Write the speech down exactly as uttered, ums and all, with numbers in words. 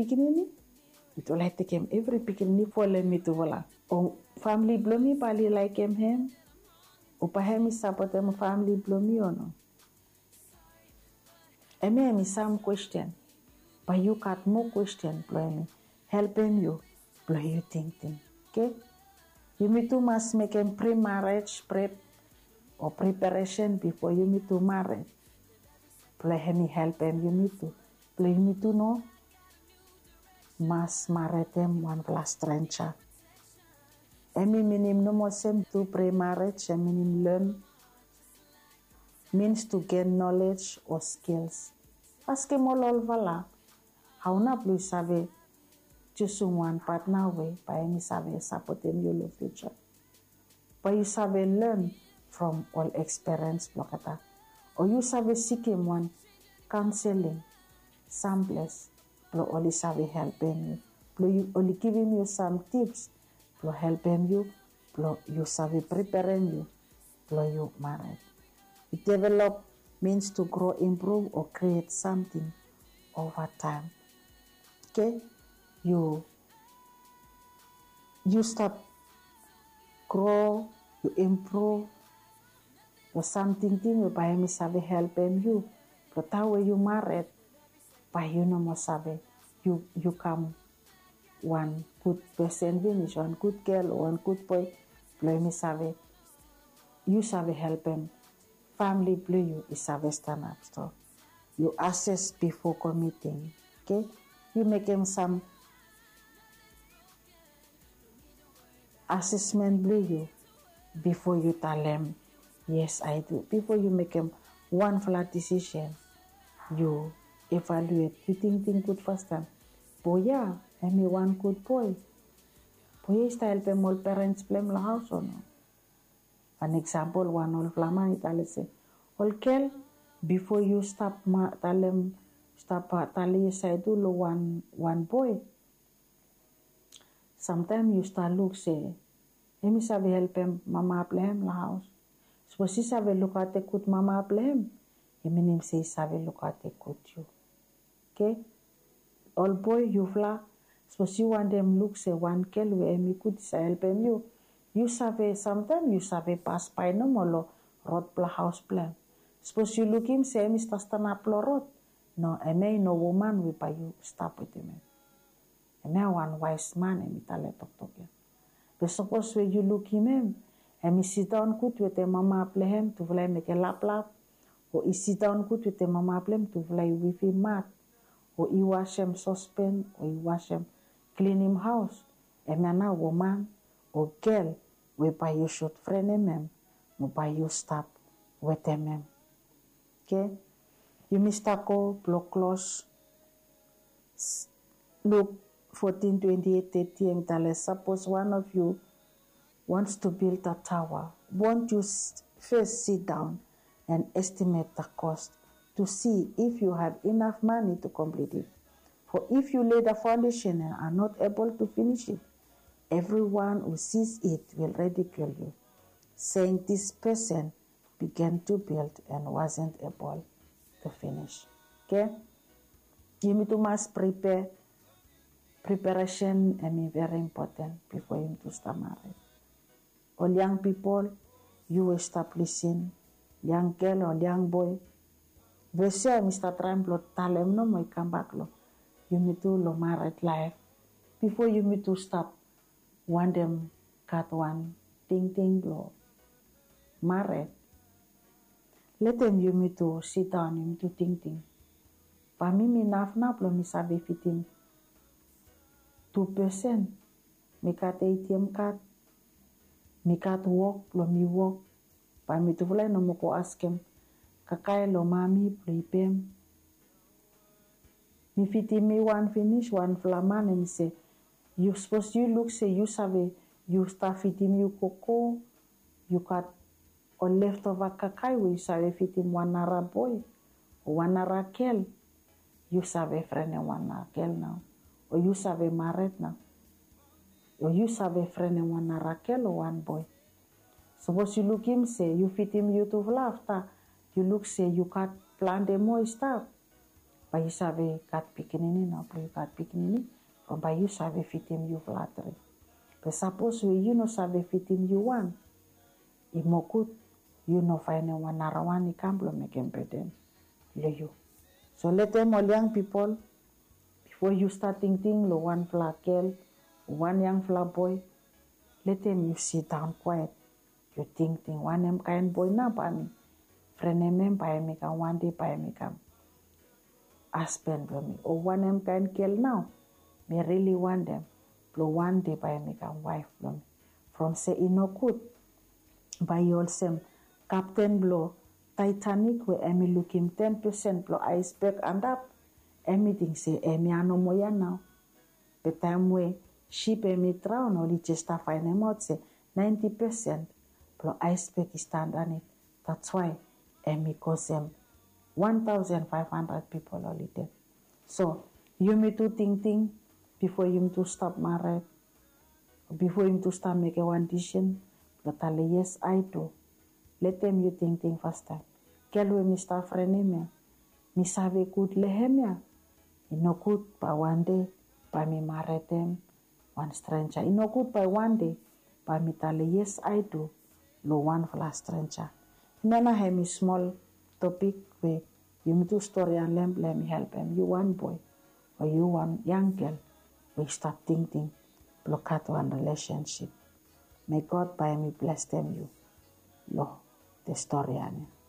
pikinini, mitufala i tekem evri pikinini folem mitufala. O famili blong mi bae oli laekem hem? O bae hem i sapotem famili blong mi o no? Hemia hemi sam kwesten. Bae yu gat moa kwesten blong hemi helpem yu blong yu tingting. Oke? Yumitu mas mekem pre-marriage prep o preparation bifo yumitu mared. Blong hemi helpem yumitu blong yumitu no mas maredem wanfala strenja. Hemi minim nomo olsem tu pre-marriage, hemi minim learn means to gain knowledge o skills. Askem ol olfala hao nao blong yu save jusum wan patna we bae hemi save sapotem yu long fiuja. Bae yu save learn from ol ekspiriens blong olgeta. O yu save sikim wan kaonseling samples blong oli save helpem yu, blong oli givim yu sam tips blong helpem yu blong yu save preperem yu blong yu mared. Yu develop means to grow, improve o create samting ova taem. Oke? Yu yu stap grow, yu improve long sam tingting we bae hemi save helpem yu blong taem we yu mared, bae yu no moa save, yu kam wan gud pesen finis, wan gud gel o wan gud boe blong hemi save, yu save helpem famili blong yu i save stanap strong. Yu ases bifo komiting. Oke? Yu mekem sam asesmen blong yu bifo yu talem yes, I do. Bifo yu mekem wanfala disisen, yu evaluet, yu tingting gud fastaem. Boe ya hemi wan gud boe? Boe ya i stap helpem ol perens blong hem long haos o no? Wan eksampol, wan olfala man i talem se, ol gel, bifo yu stap talem, stap talem yes, I do long wan boe, samtaem yu stap luk se hemi save helpem mama blong hem long haos. Sapos i save lukaotem gud mama blong hem, i minim se i save lukaotem gud yu. Oke? Ol boe, yufala, sapos yu wantem luk se wan gel we hemi gud i save helpem yu, yu save, samtaem yu save pasbae nomo long rod blong haos blong hem. Sapos yu lukim se hemi stap stanap long rod, no, hemia i no woman we bae yu stap wetem hem. Hemia wan waes man hemi talem toktok ya. Be sapos we yu lukim hem, hemi sidaon gud wetem mama blong hem, tufala i mekem laplap, o i sidaon gud wetem mama blong hem, tufala i wifim mat, o i wasem sospen, o i wasem, klinim haos, hemia nao woman o gel we bae yu sud frenem hem, mo bae yu stap wetem hem. Oke? Yumi stap go blong klos. Luke fourteen twenty-eight thirty, hemi talem, suppose one of you wants to build a tower, won't you first sit down and estimate the cost to see if you have enough money to complete it? For if you lay the foundation and are not able to finish it, everyone who sees it will ridicule you, saying, this person began to build and wasn't able to finish. Oke? Yumi tu mas prepare. Preparation hemi very important before yumi tu stap mared. Ol yang pipol, yu we stap lisin, yang gel o yang boe, ves ya hemi stap traem blong talem nomo i kambak long yumi tu long mared laef. Bifo yumi tu stap wantem gat wan tingting blong mared, letem yumi tu sidaon, yumi tu tingting, bae mi mi naf nao blong mi save fidim tu pesen? Mi gat ATM kad, mi gat wok blong mi wok, bae mitufala i no moa go askem kakae long mami blong i pem. Mi fidim mi wan finis, wanfala man hemi se, yu sapos yu luk se yu save, yu stap fidim yu gogo, yu gat ol leftova kakae we yu save fidim wan nara boe o wan nara gel, yu save frenem wan nara gel nao, o yu save mared nao, o yu save frenem wan nara gel o wan boe. Sapos yu lukim se yu fidim yutufala, afta yu luk se yu gat plante moa i stap, Bae yu save gat pikinini, nao blong yu gat pikinini, from bae yu save fidim yufala tri. Be sapos we yu no save fidim yu wan, i moa gud yu no faenem wan narawan i kam blong mekem beden long yu. So letem ol yang pipol, bifo yu stat tingting long wanfala gel o wan yangfala boe, letem yu sidaon kwaet, yu tingting wanem kaen boe nao bae mi frenem hem, bae hem i kam wan dei, bae hem i kam hasben blong mi, o wanem kaen gel nao mi rili wantem blong wan dei bae hem i kam waef blong mi. From se i no gud bae yu olsem kapten blong Taetanik we hem i lukim ten pesen blong aesbek antap, hem i ting se hemia nomo ya nao. Be taem we sip hem i draon, oli jes stap faenemaot se naenti pesen blong aesbek i stap andanit. That's why hem i kosem wan taosen faef handred pipol oli ded. So yumi tu tingting bifo yumi tu stap mared, bifo yumi tu stap mekem wan disisen blong talem yes, I do. Letem yu tingting fastaem, gel we mi stap frenem ya, mi save gud long hem ya? I no gud bae wan dei bae mi maredem wan strenja. I no gud bae wan dei bae mi talem yes, I do long wanfala strenja. Hemia nao hem i smol topik we yumi tu storian long hem blong hem i helpem yu wan boe o yu wan yang gel we i stap tingting blong gat wan rilesensip. May God bae hem i blesem yu long the storian ya.